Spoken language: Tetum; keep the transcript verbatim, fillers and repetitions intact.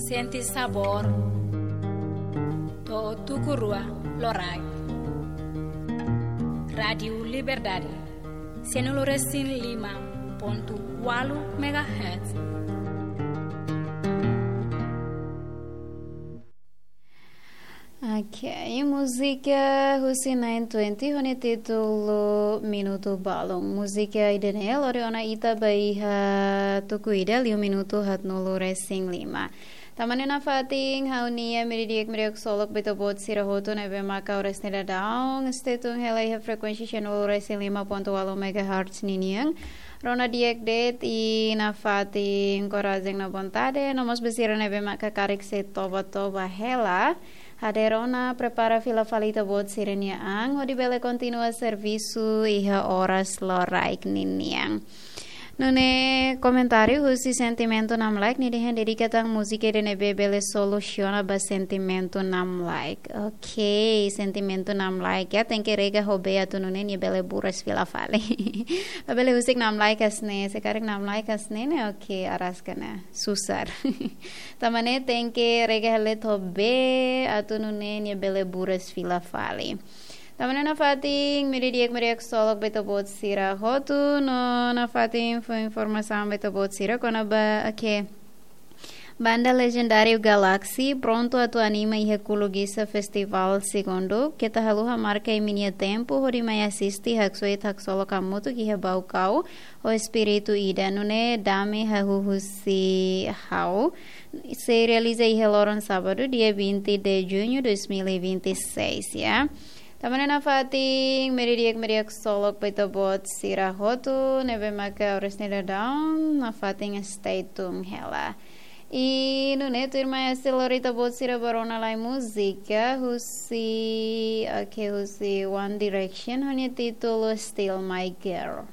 Sente sabór to'o tuku rua loraik. Rádiu Liberdade, sanulu-resin-lima pontu ualu megahertz. Ok, múzika husi nine twenty ho nia títulu Minutu Balun. Múzika ida-ne'e lori ona ita ba iha tuku ida liu minutu haatnulu-resin-lima. Tanba ne'e nafatin ha'u-nia meiudia di'ak, meiudia ksolok ba ita-boot sira hotu ne'ebé maka oras ne'e daudaun stay tune hela iha frekuénsia sanulu-resin-lima pontu ualu megahertz ninian. Rona di'ak de'it i nafatin korajen no vontade, no mós ba sira ne'ebé maka karik sei toba-toba hela, hadeer ona, prepara fila fali ita-boot sira-nia an, hodi bele kontinua servisu iha oras loraik ninian. Nune'e komentáriu husi Sentimentu Namlaik, nia dehan dedika tan múzika ida ne'ebé bele solusiona ba Sentimentu Namlaik. Ok, Sentimentu Namlaik ya, tenke rega ho bee atu nune'e nia bele buras fila fali. Labele husik namlaik hanesan ne'e, se karik namlaik hanesan ne'e, ok, araska ona, susar. Tanba ne'e tenke rega hela ho bee atu nune'e nia bele buras fila fali. Tanba ne'e nafatin meiudia di'ak, meiudia ksolok ba ita-boot sira hotu, no nafatin fó informasaun ba ita-boot sira kona-ba, ok. Banda lejendáriu Galaxy prontu atu anima iha Kulugisa Festival Segundu. Keta haluha marka imi-nia tempu hodi mai asiste, haksoit, haksolok hamutuk iha Baucau, ho espíritu ida, nune'e dame hahú husi ha'u. Sei realiza iha loron sábadu, dia vinte de junho dois mil e vinte e seis, ya. Tanba ne'e nafatin meiudia di'ak, meiudia ksolok ba ita-boot sira hotu ne'ebé maka oras ne'e daudaun, nafatin stay tune hela. I nune'e tuirmai hasil lori ita-boot sira ba rona lai múzika husi, ok, husi One Direction ho nia títulu Still My Girl.